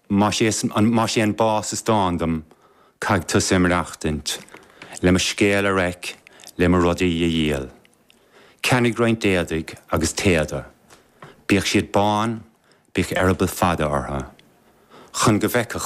Más é más é an bás is dán dom, caithfidh tusa ag maireachtaint, le mo scéal a reic, le mo rudaí a dhíol. Ceannaigh roinnt éadaigh agus téada. Bíodh siad bán, bíodh eireaball fada orthu. Chun go bhfeicfeadh.